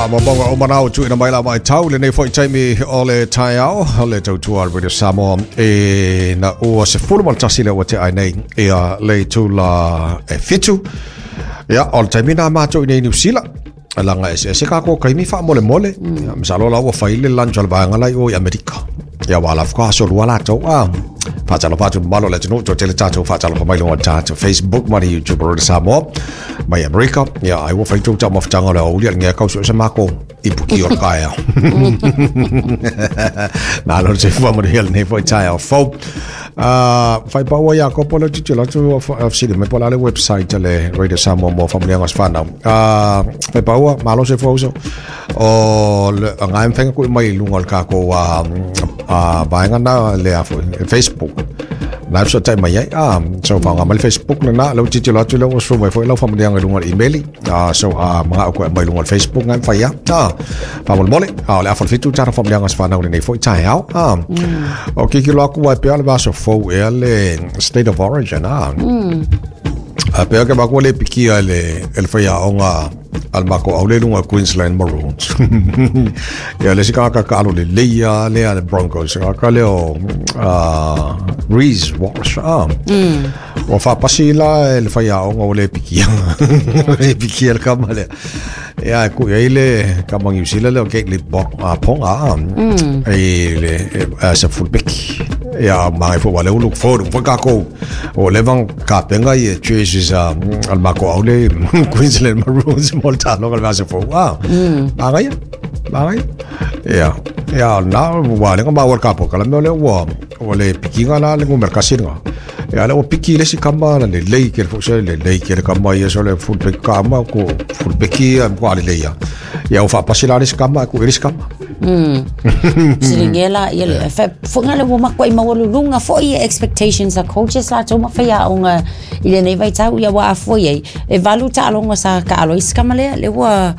Faamaumauga uma na ua tuuina mai la vaitau i lenei foi taimi o le taeao o le tautua a le Radio Samoa e na ua 11 lea ua tea ai nei ia le itula e 7. Ia, o le taimi na matou i nei Niu Sila laga eseese kākou kaimi faamolemole. Ia, masalo la ua fai le lunch a le vaega la i o i Amerika. Ia, ua ala faatoa aso lua latou. Ah, faatalofa atu i le mamalu o le atunuu, toatele tatou faatalofa mai luga o le tatou Facebook ma le YouTube o Radio Samoa mai Amerika. Ia, ai ua fai tou taumafataga o le aoauli a le ngea kau so se mako i puki o le taeao. Malo le soifua manuia lenei foi taeao fou. Fai paua ia kopo le titilo atu o fesili mai po o le a le website a le Radio Samoa mo faamanuiaga o se whanau. Fai paua, malo soifua uso. O le ngai mawhenga kui mai i lunga o le kākou vaega na le a foi, Facebook. Na so tai mai ai. Ah, so whaonga mai le Facebook na na, lau titilo atu lea ua sua mai foi lau faamanuiaga i lunga o le email. Ah, so mga au koe mai lunga o le Facebook ngai whai a. Ah, whamolemole. Ah, o le afa le fitu tara faamanuiaga o se whanau lenei foi taeao. Ah, o kikilo aku wai pea le vaso fou ea le State of Origin. Ah, a pea ke makua le pikia e le, e le whaiaonga a le mako au le lunga Queensland Maroons. Ia le si kaka ka alo le leia le a le Broncos. Ka le o Reece Walsh. Ah. Ua faapasi la e le faiaoga ua le pikia. Le pikia le kama lea. Ia e kui ai le kama Niu Sila lea o Caitlin Ponga. E le as a fullback. Ia magai foi ua le look forward foi kākou. O leva kapenga i e jerseys a le mako au le Queensland Maroons mo le taloga le vasa fou. Ah. Magaia. Magaia. Ia. Ia na ua lenga maua le kapo kala mea lea ua ua le pikinga la le numera kasi lenga. Ia lea ua piki le isi kama na lelei kele foi se lelei kele kama ia so le fullback kama ko fullback ia ko ale lei ia. Ia ua faapasi la le isi kama ko le isi kama. Silingia la ia le fa foga le ua makuai maualuluga foi ia expectations a coaches latou ma faiaoga i lenei vaitau ia ua afua i ai e 8 taaloga sa taalo ai si kama lea lea ua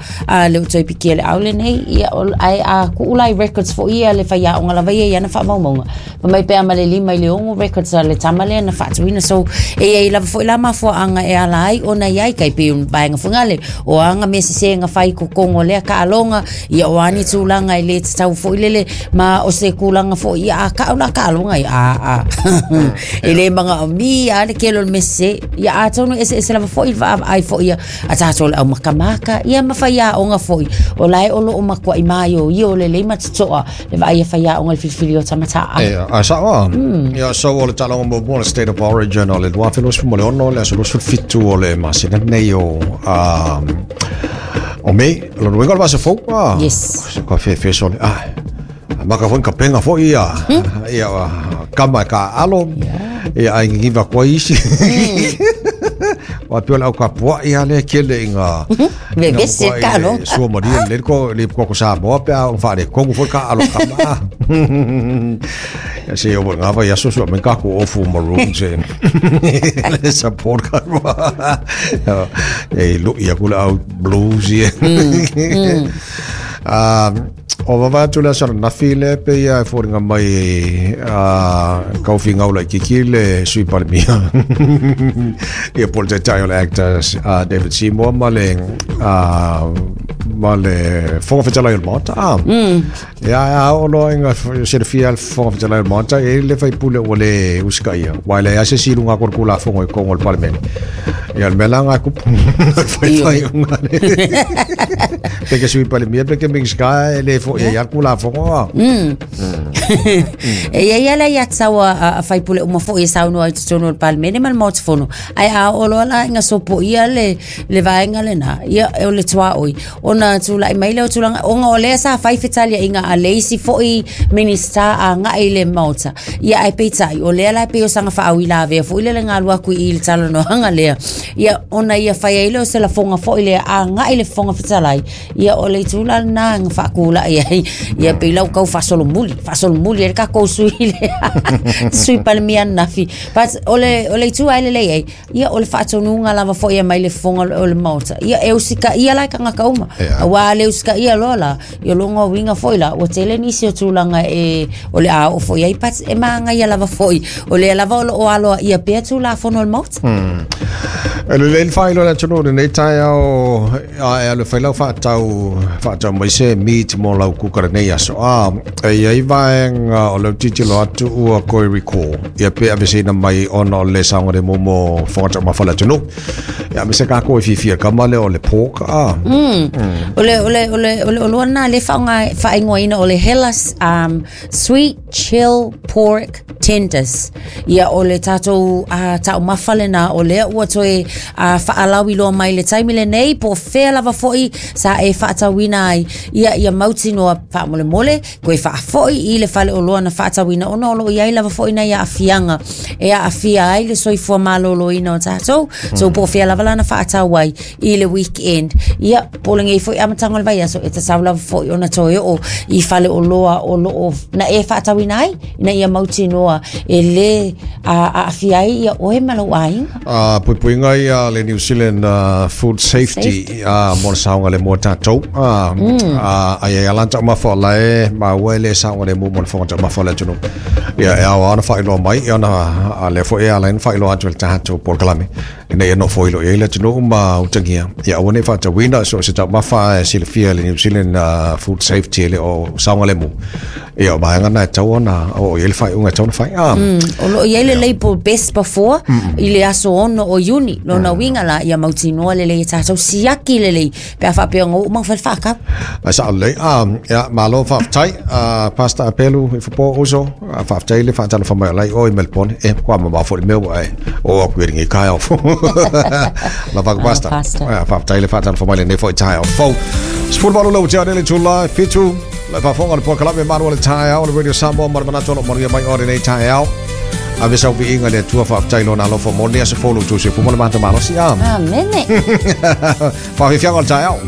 lea ua toe pikia le au lenei ia ae a tuu la i records foi ia le faiaoga lava ia i ana faamaumauga Fai mai pe a ma le 5 i le 6 records a le tama lea na faatuina. So, e iai lava foi la mafuaanga e ala ai ona iai kai pei o vaega foi ngale o a nga mea sese nga fai kokongo lea kaaloga ia o a ni tulaga e le tatau foi lele ma o se kulaga foi ia a kau la kaaloga ia a a e le manaomia a le kele o le mea sese ia atonu e eseese lava foi le vaavaai foi ia a tatou le aumakamaka ia ma faiaoga foi o lae o loo matuai maioio lelei ma totoa Le vaai a faiaoga i le filifili o tama taalo. Ia, a sao a. Ia, so o le taaloga muamua o le State of Origin o le 2026, le aso 27 o le masina nei o, o Mei, lona uiga o le vasa fou. Ah, Yes. Se ka whewhe sole. Ah, maka foi ka penga foi ia. Ia, kama e ka alo. Ia, ai ngiva koa isi. Wa peo le au ka pua ia le kele i ngā Vevesi e ka alo. Sua maria le ko le ko ko Samoa pe a whaare kongu foi ka alo kama. Ia se o ngā vai aso sua me ka ko ofu maroon se. Le support ka rua. E lu ia kula au blues ia. Ah, O vavae atu le aso ananafi le pe ia e foliga mai a kaufi gaula i kiki le Sui Palemia ia po le taitai o le actor David Seymour ma le ma le Fofoga Fetalai o le Maota. Ia a oo loa ina silafia le Fofoga Fetalai o le Maota e le faipule ua le usitaia aua e leai lava se isi i luga atu o le Tulafono i totonu o le Palemene. Ia o le mea la lena e tupu. Faifaiuga le pe ke Sui Palemia pe ke Minisita e le foi ai lava le Tulafono a. E iai lava le aiatatau a faipule uma foi e saunoa i totonu o le Palemene ma le Maota Fono. Ae a oo loa la ina sopoia le, le vaega lena, ia o le tuaoi, ona tulai mai lea o tulaga, ona o lea sa fai fetaliaiga a le isi foi Minisita agai i le Maota. Ia ae peitai, o lea la e pei o saga faauilavea foi lele na alu atu i i le talanoaga lea. Ia ona ia fai ai lea o se lafoga foi lea agai i le Fofoga Fetalai, ia o le itu la lena na faatulai ai, ia pei la ua tau faasolomuli, faasolomuli. faasolomuli ai le tatou sui le sui palemia ananafi. But o le itu lava e lelei ai, ia o le faatonuga lava foi e mai le fofoga o le Maota. Ia e usitaia la e tagata uma. Aua a le usitaia loa la, ia o lona uiga foi la, ua tele nisi o tulaga e o le a oo foi ai, but e magaia lava foi. O lea lava o loo aloaia pea tulafono o le Maota. E lelei le faailoa le atunuu lenei taeao a e alu e fai lau faatau faatau mai se meat mo lau kuka lenei aso. A e i ai vaega o leu tilotilo atu ua toe recall ia pe aveseina mai ona o le saogalemu mo fofoga taumafa o le atunuu. Ia me se tatou e fiafia kama lea o le pork a. O le oloa lena le faaaoga faaigoaina o le Hellas Sweet Chill Pork Tenders. Ia o le tatou taumafa lena o lea ua toe faalauiloa mai le taimi lenei po o fea lava foi sa e faatauina ai. Ia ia mautinoa faamolemole toe faafoi i le faleoloa na faatauina ona o loo i ai lava foi nai aafiaga e aafia ai le soifua maloloina o tatou. So po o fea lava lana faatau ai i le weekend. Ia po o lenei foi amataga o le vaiaso e tatau lava foi ona toe oo i faleoloa o loo na e faatauina ai ina ia mautinoa e lē aafia ai ia oe ma lou aiga. Puipuiga ia le New Zealand Food Safety mo le saogalemu o tatou. Ai ai ala taumafa o lae maua e le saogalemu mo le fofoga taumafa o le atunuu. Ia e ao ona faailoa mai ia ona a lea foi e ala ai ona faailoa atu e le tatou polokalame ina ia nofo i ai le atunuu ma utagia. Ia aua nei faatauina so se taumafa e silafia e le New Zealand Food Safety e le o saogalemu. Ia o vaega na e tatau ona o i ai le faaiuga e tatau ona fai. O loo i ai le label best before i le aso 6 o Iuni. Lona uiga la ia mautinoa lelei e tatou siaki lelei pe a faapea ona oo mai fai le faatau. Ai sao lelei. Ia, malo faafetai. Pastor Apelu i fo uso. Faafetai le faatalofa mai o lai o i Melbourne. E, kua mamao foi le mea ua e o aku i lenei taeao. Lava ku Pastor. Pastor. Ia, faafetai le faatalofa mai lenei foi taeao fou. 18 le ua le itula 7. Le faafofoga le polokalame Malu o le Taeao le Radio Samoa ma le manatu o lo manuia mai o lenei taeao. Ave sau viiga le Atua faafetai lona alofa mo le aso fou lo outou soifua ma le matamalosi. Amene. Faafiafiaga o le taeao.